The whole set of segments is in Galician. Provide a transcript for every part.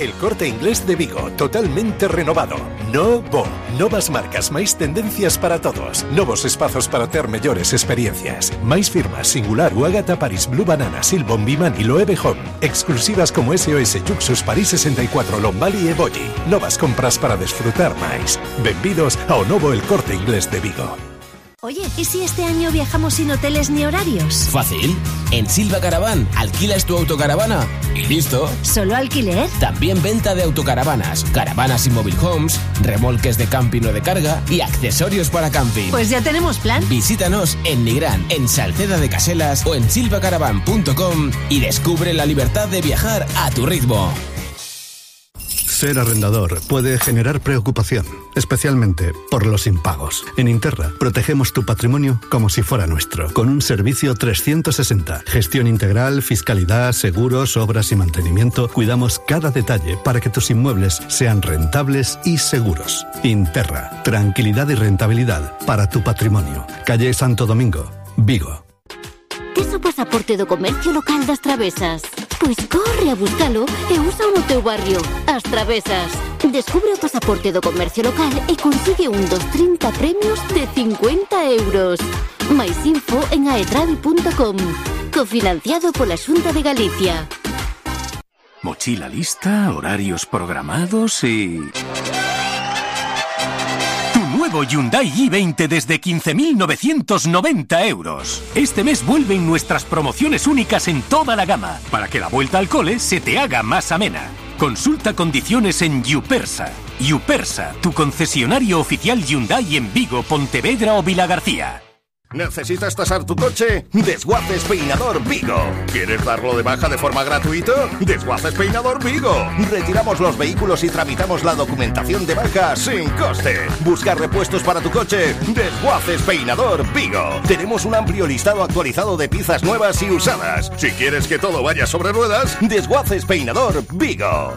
El Corte Inglés de Vigo, totalmente renovado. Novo. Novas marcas, máis tendencias para todos. Novos espazos para ter mellores experiencias. Máis firmas, Singular, Ágata, Paris Blue Banana, Silbon, Bimani, Loewe Home. Exclusivas como SOS, Juxus, París 64, Lombali e Bolli. Novas compras para desfrutar máis. Benvidos ao novo El Corte Inglés de Vigo. Oye, ¿y si este año viajamos sin hoteles ni horarios? Fácil. En Silva Caravan alquilas tu autocaravana y listo. ¿Solo alquiler? También venta de autocaravanas, caravanas y mobile homes, remolques de camping o de carga y accesorios para camping. Pues ya tenemos plan. Visítanos en Nigrán, en Salceda de Caselas o en silvacaravan.com y descubre la libertad de viajar a tu ritmo. Ser arrendador puede generar preocupación, especialmente por los impagos. En Interra protegemos tu patrimonio como si fuera nuestro, con un servicio 360. Gestión integral, fiscalidad, seguros, obras y mantenimiento. Cuidamos cada detalle para que tus inmuebles sean rentables y seguros. Interra, tranquilidad y rentabilidad para tu patrimonio. Calle Santo Domingo, Vigo. Tes o pasaporte do comercio local das Travesas? Pois corre a buscalo e usa no teu barrio. As Travesas. Descubre o pasaporte do comercio local e consigue un dos 30 premios de 50 euros. Mais info en aetravi.com. Cofinanciado pola Xunta de Galicia. Mochila lista, horarios programados y... Nuevo Hyundai i20 desde 15.990 euros. Este mes vuelven nuestras promociones únicas en toda la gama, para que la vuelta al cole se te haga más amena. Consulta condiciones en Yupersa. Yupersa, tu concesionario oficial Hyundai en Vigo, Pontevedra o Vilagarcía. ¿Necesitas tasar tu coche? Desguaces Peinador Vigo. ¿Quieres darlo de baja de forma gratuita? Desguaces Peinador Vigo. Retiramos los vehículos y tramitamos la documentación de baja sin coste. ¿Buscar repuestos para tu coche? Desguaces Peinador Vigo. Tenemos un amplio listado actualizado de piezas nuevas y usadas. Si quieres que todo vaya sobre ruedas, Desguaces Peinador Vigo.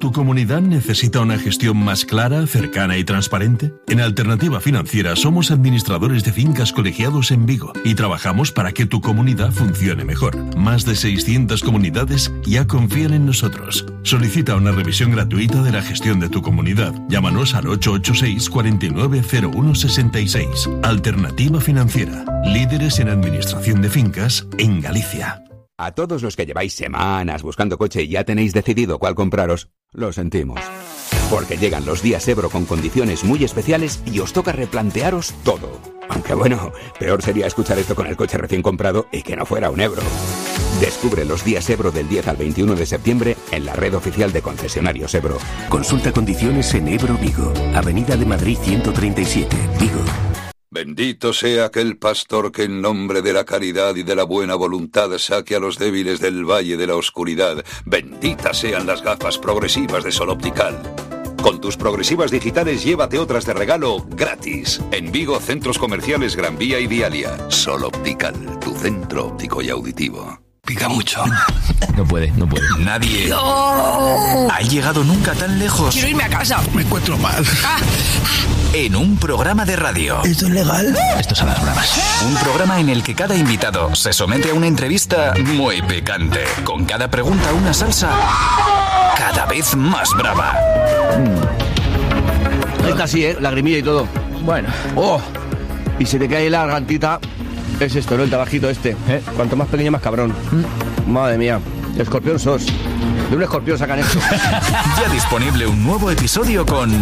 ¿Tu comunidad necesita una gestión más clara, cercana y transparente? En Alternativa Financiera somos administradores de fincas colegiados en Vigo y trabajamos para que tu comunidad funcione mejor. Más de 600 comunidades ya confían en nosotros. Solicita una revisión gratuita de la gestión de tu comunidad. Llámanos al 886 490166. Alternativa Financiera. Líderes en administración de fincas en Galicia. A todos los que lleváis semanas buscando coche y ya tenéis decidido cuál compraros, lo sentimos. Porque llegan los días Ebro con condiciones muy especiales y os toca replantearos todo. Aunque bueno, peor sería escuchar esto con el coche recién comprado y que no fuera un Ebro. Descubre los días Ebro del 10 al 21 de septiembre en la red oficial de concesionarios Ebro. Consulta condiciones en Ebro Vigo, Avenida de Madrid 137, Vigo. Bendito sea aquel pastor que en nombre de la caridad y de la buena voluntad saque a los débiles del valle de la oscuridad. Benditas sean las gafas progresivas de Sol Optical. Con tus progresivas digitales llévate otras de regalo gratis. En Vigo, centros comerciales Gran Vía y Vialia. Sol Optical, tu centro óptico y auditivo. Pica mucho. No puede. Nadie ha llegado nunca tan lejos. Quiero irme a casa. Me encuentro mal. En un programa de radio. ¿Esto es legal? Esto son las bravas. Un programa en el que cada invitado se somete a una entrevista muy picante. Con cada pregunta una salsa cada vez más brava. Esta sí, lagrimilla y todo. Bueno. ¡Oh! Y se te cae la gargantita. Es esto, ¿no? El tabajito este. Cuanto más pequeño, más cabrón. Madre mía. Escorpión sos. De un escorpión sacan esto. Ya disponible un nuevo episodio con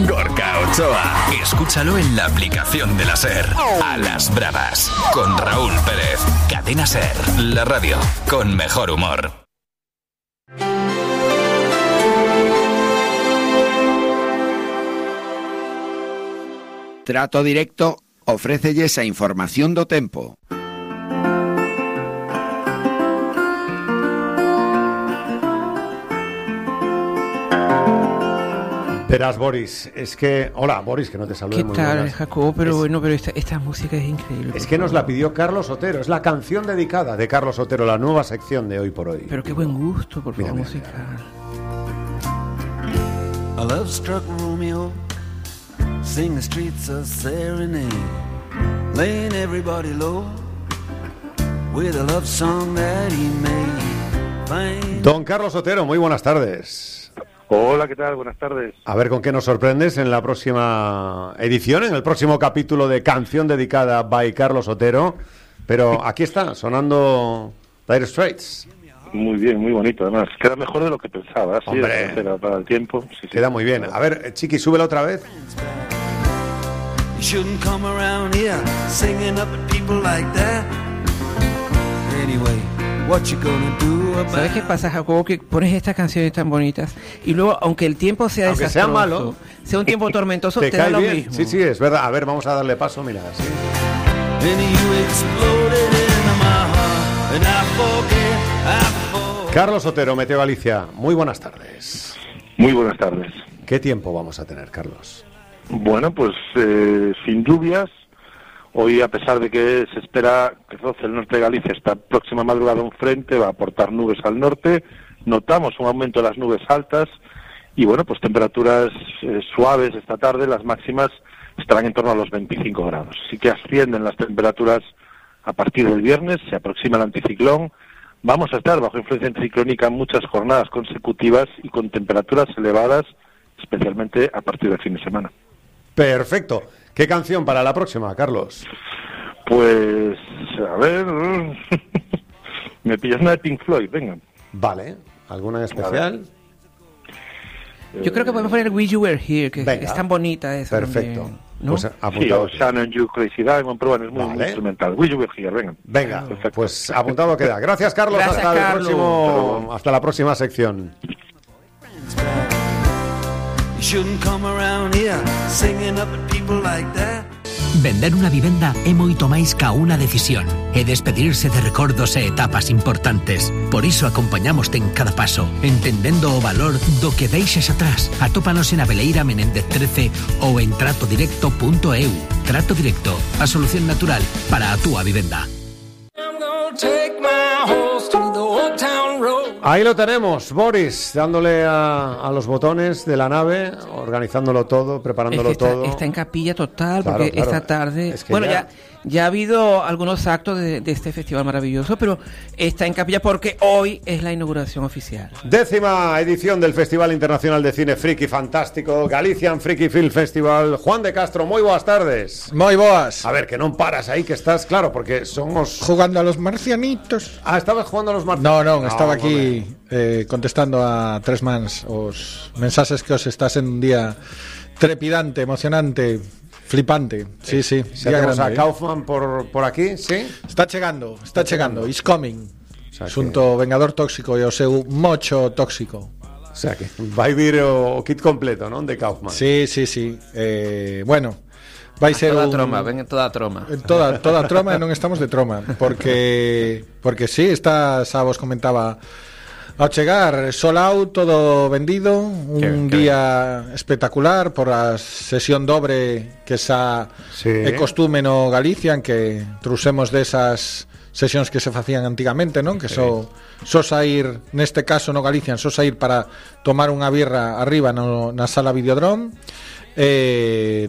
Gorka Ochoa. Escúchalo en la aplicación de la SER. A las bravas. Con Raúl Pérez. Cadena SER. La radio con mejor humor. Trato Directo ofrécelles a información do tempo. Verás, Boris, es que... Hola, Boris, que no te saludé. ¿Qué tal, Jacobo? Pero bueno, pero esta música es increíble. Es que nos la pidió Carlos Otero, es la canción dedicada de Carlos Otero, la nueva sección de Hoy por Hoy. Pero qué buen gusto, por favor, musical. A love struck Romeo, sing the streets a serenade, laying everybody low with a love song that he made Don Carlos Otero, muy buenas tardes. Hola, ¿qué tal? Buenas tardes. A ver con qué nos sorprendes en la próxima edición, en el próximo capítulo de Canción Dedicada by Carlos Otero. Pero aquí está, sonando Dire Straits. Muy bien, muy bonito, además. Queda mejor de lo que pensaba, sí, Hombre, para el tiempo. Sí, queda muy bien. A ver, Chiqui, súbela otra vez. You shouldn't come around here singing up at people like that. Anyway, what you gonna do about... ¿Sabes qué pasa, Jacobo? Que pones estas canciones tan bonitas y luego, aunque el tiempo sea aunque desastroso, sea malo, sea un tiempo tormentoso, te da cae lo bien. mismo. Sí, es verdad. A ver, vamos a darle paso, mira. Sí. Carlos Otero, Meteo Galicia, muy buenas tardes. Muy buenas tardes. ¿Qué tiempo vamos a tener, Carlos? Bueno, pues sin lluvias. Hoy, a pesar de que se espera que roce el norte de Galicia, esta próxima madrugada un frente va a aportar nubes al norte. Notamos un aumento de las nubes altas y, bueno, pues temperaturas suaves esta tarde. Las máximas estarán en torno a los 25 grados. Sí que ascienden las temperaturas a partir del viernes, se aproxima el anticiclón. Vamos a estar bajo influencia anticiclónica muchas jornadas consecutivas y con temperaturas elevadas, especialmente a partir del fin de semana. Perfecto. ¿Qué canción para la próxima, Carlos? Pues, a ver... me pillas una de Pink Floyd, venga. Vale. ¿Alguna en especial? Yo creo que podemos poner Wish You Were Here, que es tan bonita esa. Perfecto. También, ¿no? Pues apuntado. Sí, o Shannon You Crazy Diamond, pero bueno, es muy instrumental. Wish You Were Here, venga. Venga, pues apuntado queda. Gracias, Carlos. Gracias, Carlos. Hasta la próxima sección. Vender unha vivenda é moito máis ca unha decisión. É despedirse de recordos e etapas importantes. Por iso acompañamoste en cada paso, entendendo o valor do que deixes atrás. Atópanos en Abeleira Menéndez 13 ou en tratodirecto.eu. Trato Directo, a solución natural para a túa vivenda. Ahí lo tenemos, Boris, dándole a los botones de la nave, organizándolo todo, preparándolo todo. Está en capilla total, Claro, porque claro. esta tarde... Es que bueno, ya ha habido algunos actos de este festival maravilloso, pero está en capilla porque hoy es la inauguración oficial. 10ª edición del Festival Internacional de Cine Friki Fantástico, Galician Friki Film Festival. Juan de Castro, moi boas tardes. Moi boas. A ver, que non paras aí, que estás, claro, porque somos... Jugando a los marcianitos. Ah, estabas jugando a los marcianitos. No, estaba aquí contestando a tres mans os mensaxes que os está sendo un día trepidante, emocionante, flipante. Sí. Si tenemos a Kaufman por aquí, ¿sí? Está chegando. It's coming. Xunto Vengador Tóxico e o seu mocho tóxico. O sea que vai vir o kit completo, non? De Kaufman. Sí. Bueno, vai ser toda troma, ven toda troma. Toda troma e non estamos de troma, porque sí, xa vos comentaba ao chegar, sold out, todo vendido, un día espectacular por a sesión dobre que xa é costume no Galicia, en que trusemos desas sesións que se facían antigamente, non? Que só sair, neste caso no Galicia, só sair para tomar unha birra arriba na sala Videodrome,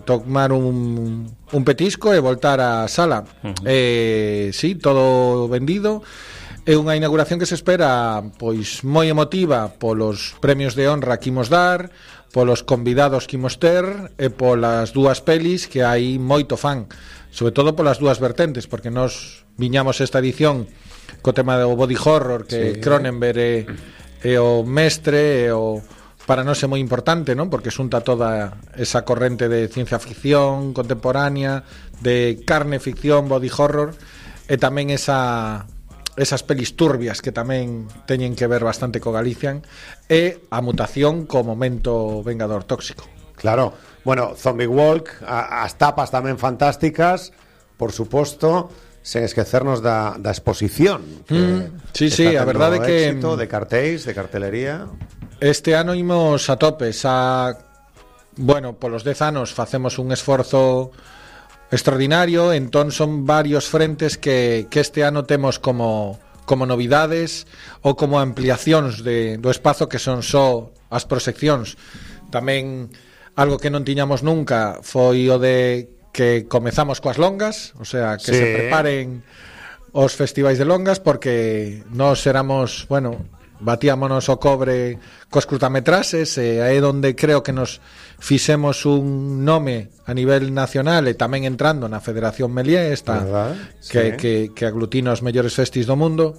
tomar un petisco e voltar á sala. Sí, todo vendido. É unha inauguración que se espera pois moi emotiva polos premios de honra que imos dar, polos convidados que imos ter e polas dúas pelis que hai moito fan, sobre todo polas dúas vertentes, porque nós viñamos esta edición co tema do body horror, que Cronenberg é o mestre, e o para nós é moi importante, non? Porque xunta toda esa corrente de ciencia ficción contemporánea, de carne ficción, body horror, e tamén esas pelis turbias que tamén teñen que ver bastante co Galician, e a mutación co momento Vengador Tóxico. Claro, bueno, Zombie Walk, as tapas tamén fantásticas, por suposto, sen esquecernos da exposición. Sí, a verdade que éxito, de cartéis, de cartelería. Este ano imos a tope, bueno, polos 10 anos facemos un esforzo extraordinario, entón son varios frentes que este ano temos como novidades ou como ampliacións do espazo, que son só as proxeccións. Tamén algo que non tiñamos nunca foi o de que comezamos coas longas, o sea, que se preparen os festivais de longas, porque nós éramos, bueno, batíamonos o cobre cos curtametrases, e é onde creo que nos fixemos un nome a nivel nacional e tamén entrando na Federación Melié, que aglutina os mellores festis do mundo.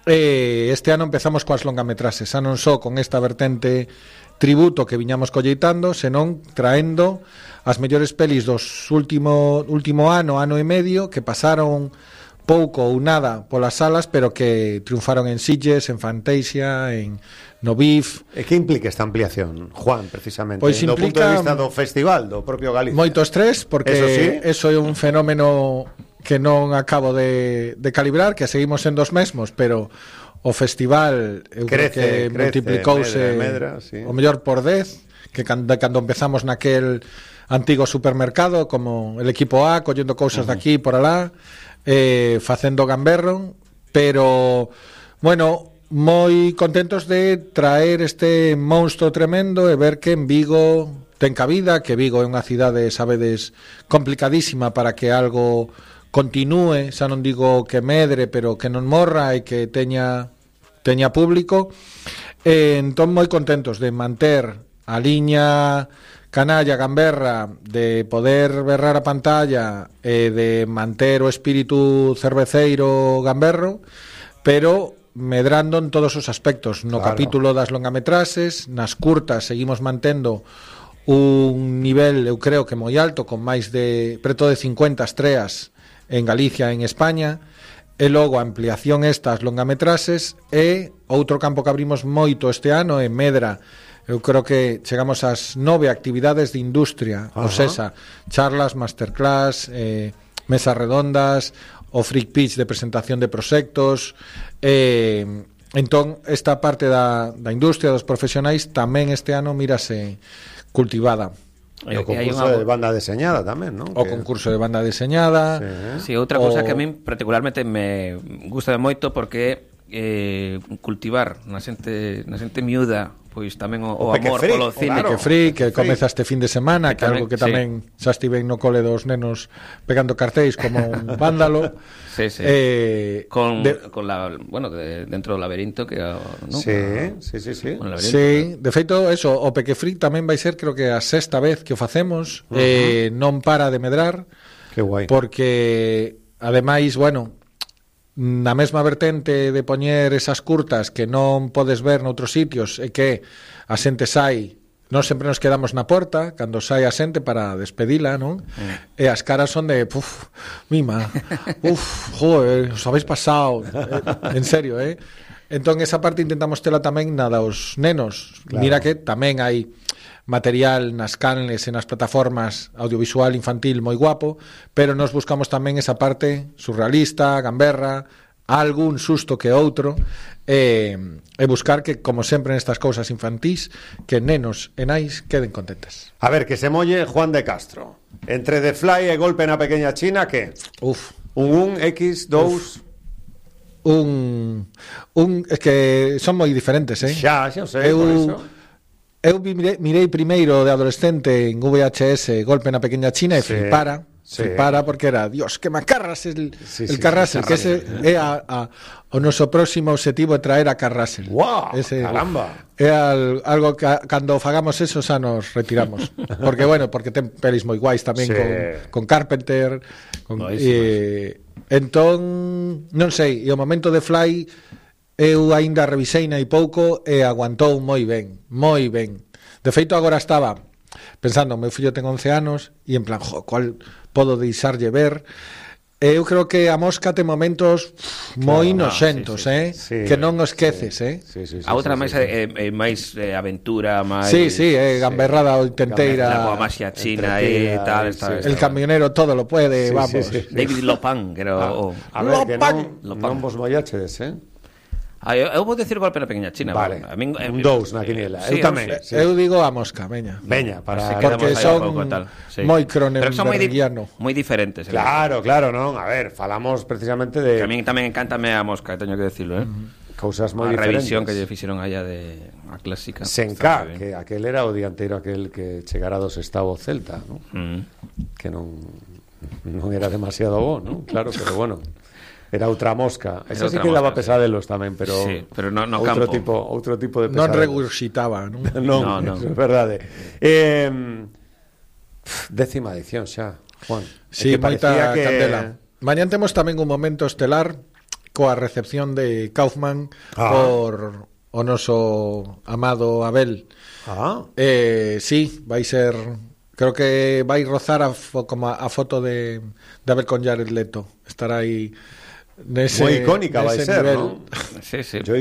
Este ano empezamos coas longametrases, xa non só con esta vertente tributo que viñamos colleitando, senón traendo as mellores pelis dos último ano e medio, que pasaron pouco ou nada polas salas, pero que triunfaron en Sitges, en Fantasia, no BIF. E que implica esta ampliación, Juan, precisamente? Pois do punto de vista do festival, do propio Galicia. Moito estrés, porque eso é un fenómeno que non acabo de calibrar, que seguimos sendo os mesmos, pero o festival eu creo que multiplicouse medra, sí. O mellor por 10, que cando empezamos naquel antigo supermercado, como el equipo A, collendo cousas de aquí por alá, facendo gamberro, pero bueno, moi contentos de traer este monstro tremendo e ver que en Vigo ten cabida, que Vigo é unha cidade, sabedes, complicadísima para que algo continúe, xa non digo que medre, pero que non morra e que teña público. Entón moi contentos de manter a liña canalla, gamberra, de poder berrar a pantalla e de manter o espírito cerveceiro gamberro, pero medrando en todos os aspectos. No capítulo das longametrases, nas curtas seguimos mantendo un nivel, eu creo que moi alto, con máis de preto de 50 estreas en Galicia e en España, e logo a ampliación estas longametrases, e outro campo que abrimos moito este ano é Medra. Eu creo que chegamos ás 9 actividades de industria, ou seja, charlas, masterclass, mesas redondas, o freak pitch de presentación de proxectos. Entón, esta parte da industria, dos profesionais, tamén este ano mírase cultivada. E o concurso de banda deseñada tamén, non? O concurso de banda deseñada. Sí, outra cousa que a min particularmente me gusta moito, porque cultivar na xente miúda, pois tamén o amor polo cine. Que free, que comeza este fin de semana, que algo que tamén xa estiven no cole dos nenos pegando cartéis como un vándalo. Con la, bueno, dentro do laberinto, que ¿no? Sí, de feito, eso, o Peque Free tamén vai ser, creo que a 6ª vez que o facemos, non para de medrar. Que guai. Porque ademais, bueno, na mesma vertente de poñer esas curtas que non podes ver noutros sitios, e que a xente sai, non sempre nos quedamos na porta cando sai a xente para despedila, non? E as caras son de mima, joder, os habéis pasado, en serio, entón esa parte intentamos tela tamén na dos nenos. Mira que tamén hai material nas canles e nas plataformas audiovisual infantil moi guapo, pero nos buscamos tamén esa parte surrealista, gamberra, algún susto que outro, e buscar que, como sempre nestas cousas infantís, que nenos e nais queden contentas. A ver, que se molle Juan de Castro. Entre The Fly e Golpe na Pequeña China, que? Un X, 2... Es que son moi diferentes, Xa sei, por iso. Eu mirei primeiro de adolescente en VHS Golpe na Pequeña China e flipara porque era, Dios, que macarras el Carrasel, que ese é o noso próximo objetivo, é traer a Carrasel. Caramba. É algo que cando fagamos eso xa nos retiramos. Porque porque ten pelis moi guais tamén con Carpenter, entón non sei, e o momento de Fly eu aínda revisei hai pouco e aguantou moi ben. De feito, agora estaba pensando, meu fillo ten 11 anos e en plan, cual podo deixarlle ver? Eu creo que a Mosca ten momentos moi noxentos, que non o esqueces, A outra máis máis aventura, máis gamberrada oitenteira, coa maxia china e tal, el camionero todo lo puede, vamos. David Lopan, que era a ver, que non vos mollachedes, eu vou decir Golpe na Pequeña China. Vale, un 2 na quiniela. Eu tamén. Eu digo a Mosca, veña, para porque son moi cronenbergiano, moi diferentes. Claro, non, a ver, falamos precisamente de... Que a min tamén encántame a Mosca, teño que decirlo, Cousas moi A diferentes. revisión que lle fixeron allá de a clásica. Senká, que aquel era o dianteiro aquel que chegara do Sestao Celta, Que non era demasiado bo, non? Claro, pero bueno. Era outra mosca. Esa sí que daba pesadelos tamén, pero no outro campo. Outro tipo de Non pesadelos. regurxitaba, non? Non, é verdade. 10ª edición xa, Juan. Sí, moita que... candela. Mañán temos tamén un momento estelar coa recepción de Kaufman por o noso amado Abel. Sí, vai ser... Creo que vai rozar como a foto de Abel con Jared Leto. Estará aí nese moi icónica vai ser, nivel. ¿no? Sí. Yo